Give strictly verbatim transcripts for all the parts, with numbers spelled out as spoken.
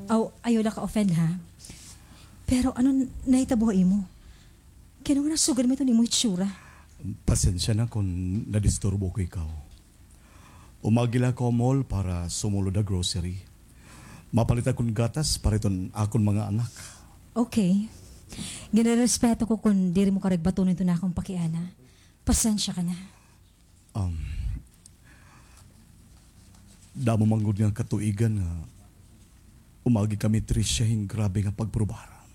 Aw, ayaw la ka-offend, ha? Pero ano n-, nahitabo ha imo? Kay ano nga nasugad man iton imo hitsura? Pasensya na kon nadisturbo ko ikaw. Umagi la ako ha mall para sumulod ha grocery. Mapalit akon gatas para iton akon mga anak. Okay. Ginarespeto ko kon diri mo karigbaton iton akon pakiana. Pasensya ka na. Um, damo man gud nga katuigan nga umagi kami, Tricia, hin grabe nga pagprubaran.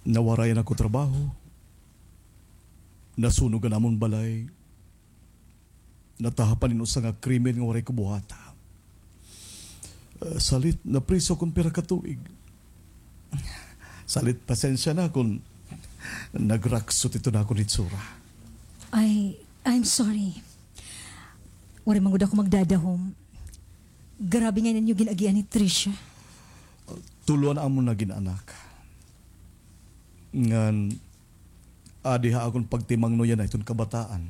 Nawarayan ako trabaho. Nasunog an amon balay. Natahapan hin usa nga krimen nga waray ko buhata. Ah, salit, napriso kon pira ka tuig. Salit, pasensya na kon nagraksot iton akon hitsura. I, I'm sorry. Waray man gud ako magdadahom. Grabe ngay-an an iyo gin-agian ni Tricia. Tulo an amon nagin anak. Ngan, adi ha akon pagtimangnuyan na iton kabataan.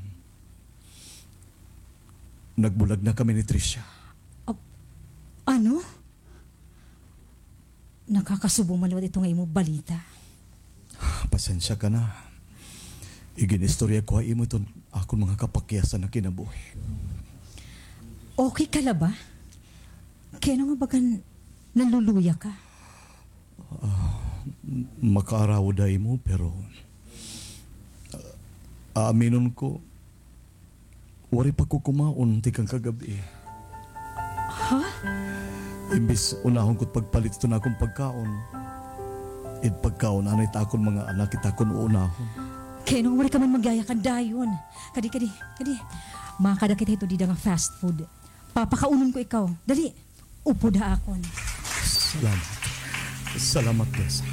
Nagbulag na kami ni Tricia. Ap-, ano? Nakakasubo man liwat ito nga imo balita. Pasensya ka na. Igin-istorya ko ha imo iton akon mga kapakyasan nga kinabuhi. Okay ka la ba? Kay ano nga bagan naluluya ka? Ah, m-, makaarawod ha imo, pero, ah, aaminon ko, waray pa ko kumaon tikang kagab-i. Ha? Imbis unahon ko it pagpalit iton akon pagkaon, it pagkaon anay it akon mga anak it akon uunahon. Kay ano nga waray ka man magyayakan dayon? Kadi, kadi, kadi. Makada kita hito dida nga fast food. Papakaunon ko ikaw. Dali, upod ha akon. Salamat. Salamat, Tessa.